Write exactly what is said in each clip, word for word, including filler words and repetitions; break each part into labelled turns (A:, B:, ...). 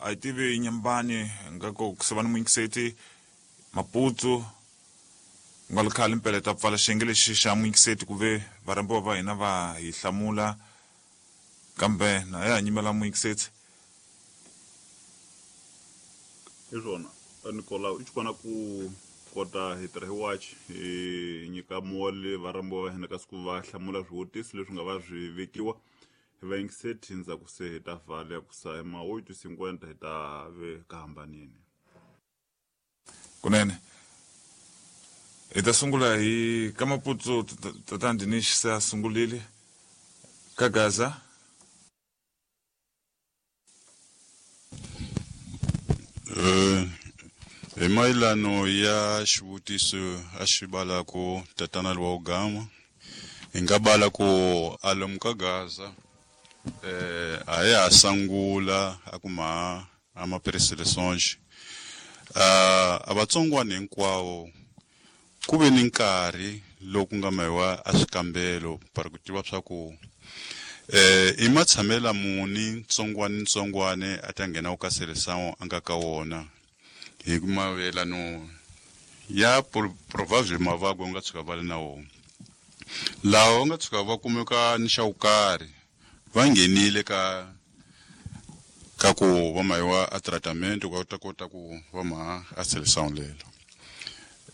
A: A hi tivi Nyambani nga ku ku ni muyingiseti Maputo nga ri khale mpela ta pfala xiyenge lexi xa muyingiseti ku ve varhambiwa va hina va hi hlamula kambe na ya ha nyimela muyingiseti.
B: Hi swona Nicolau i xikona ku kota hi tirha hi watch hi nyika moli varhambiwa va hina kasi ku va hlamula swivutiso leswi nga va swi vekiwa hi vayingiseti ndzhaku se hi ta vhala ku sa ma oito cinquenta hi ta ve ka hambanini.
A: Kunene hi ta sungula hi ka Maputo tatana Dinish se a sungulile ka Gaza.
C: Eh hi mayelano ya xivutiso a xi bala ku tatana lowa Gama hi nga bala ku alomu ka Gaza eh a ya sangula a kuma a ma preseleções a vatsongwana hinkwawo ku ve ni nkarhi loku nga mayiwa a swikambelo para ku tiva swa ku eh i matshamela muni ntsongwane ntsongwane a ta nghena ka seleção a nga ka wona hi mavelano ya provável mavabyi nga tshuka va le na wona lawa nga tshuka va kumeka ni xa vukarhi va nghenile ka ka ku va mayiwa a tratamento ku ta kota ku va ma a seleção lelo.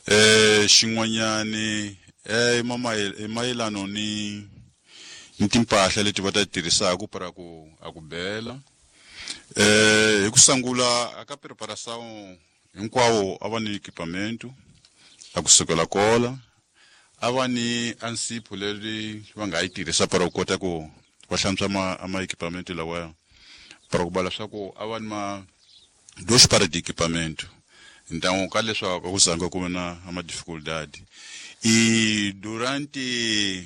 C: Eh xin'wanyani eh mayelano ni ni timpahla leti va ta tirhisaka para ku a ku bela eh hi ku sangula aka preparação hinkwawo a va ni equipamento a kusukela kola a va ni ansipho leri va nga yi tirhisa para ku kota ku va hlantswa ma ama equipamento lawa para ku bala swa ku a va ni ma dois para de equipamento. Então ka leswaku ku zanga ku na ama dificuldade e durante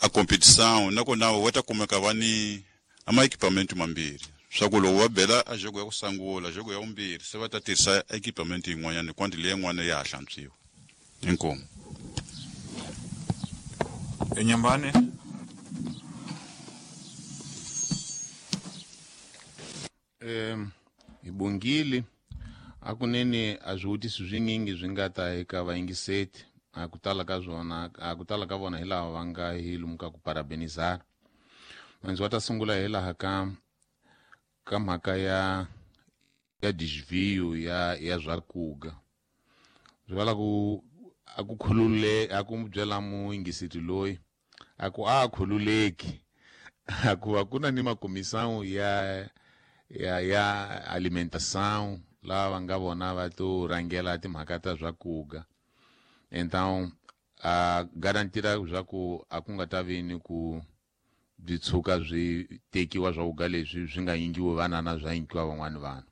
C: a competição nakona wa ta kumeka va ni ama equipamento mambirhi swa ku loko va bela a jogo ya ku sangula jogo ya vumbirhi se va ta tirhisa equipamento yin'wanyana kwandi leyi yin'wana ya ha hlantswiwa. Inkomu.
A: Enyambani
D: em hi bongile a kunene a swivutiso swinyingi swi nga ta eka vayingiseti a ku tala ka swona a ku tala ka vona hi laha va nga hi lumuka ku parabenizar. Mandzi wa ta sungula hi laha ka ka mhaka ya ya desvio ya ya zwakuga swi vala ku a ku khulule a ku byela muyingiseti loyi a ku a khululeki a ku a ku na ni makomisão ya ya ya alimentação lava va nga vona va to rhangela timhaka ta zwakuga. Então a garantira swa ku a ku nga ta vi ni ku byi tshuka byi tekiwa swa leswi swi nga yingiwi vanana swa yingiwa van'wani vanhu.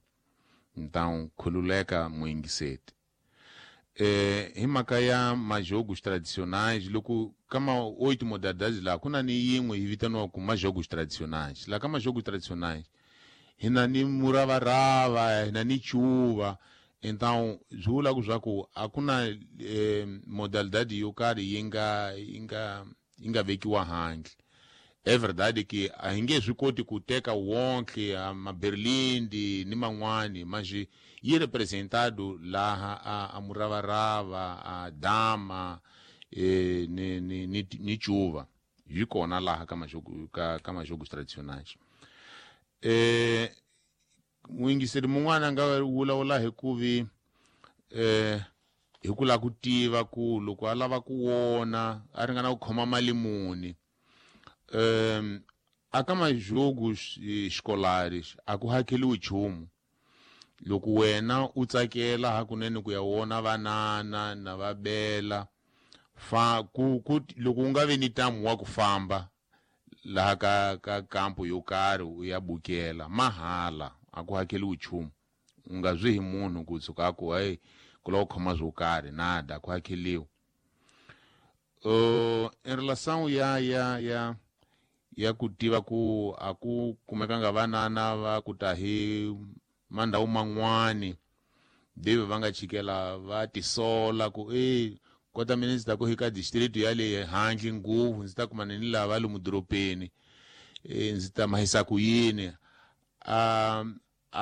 D: Então khululeka muyingiseti. Eh hi mhaka ya majogos tradicionais loko ka ma oito modalidades laha ku na ni yin'we yi vitaniwaka majogos tradicionais. Laha ka majogos tradicionais hi na ni muravarava, hi na ni chuva. Então swi vula ku swa ku a ku na eh, modalidade yo karhi yi nga yi nga yi nga vekiwa handle. É verdade que a hi nge swi koti ku teka wonke maberlindi ni man'wani mas yi representado laha a, a muravarava a dama eh, ni, ni, ni, ni chuva yi kona laha ka majogo ka, ka majogos tradicionais. Eh muyingiseri mun'wana a nga vulavula hi ku vi eh hi ku lava ku tiva ku loko a lava ku wona a ringana ku khoma mali muni. Um, a ka majogos escolares a ku hakeliwi nchumu. Loko wena u tsakela hakunene ku ya wona vanana na va bela fa ku, ku loko u nga vi ni ntamu wa ku famba laha ka ka kampo yo karhi u ya bukela mahala a ku hakeliwi nchumu. U nga zwi hi munhu ku tshuka a ku hey ku lava ku khoma swo karhi nada ku hakeliwi. Uh, em relação ya ya ya ya ku tiva ku a ku kumekanga vanana va ku ta hi mandhawu man'wani deve va nga chikela va tisola ku e kota mina ndzi ta ku eka district ya le handle ngopfu ndzi ta kumana ni lava lomu doropeni e ndzi ta mahisa ku yini. A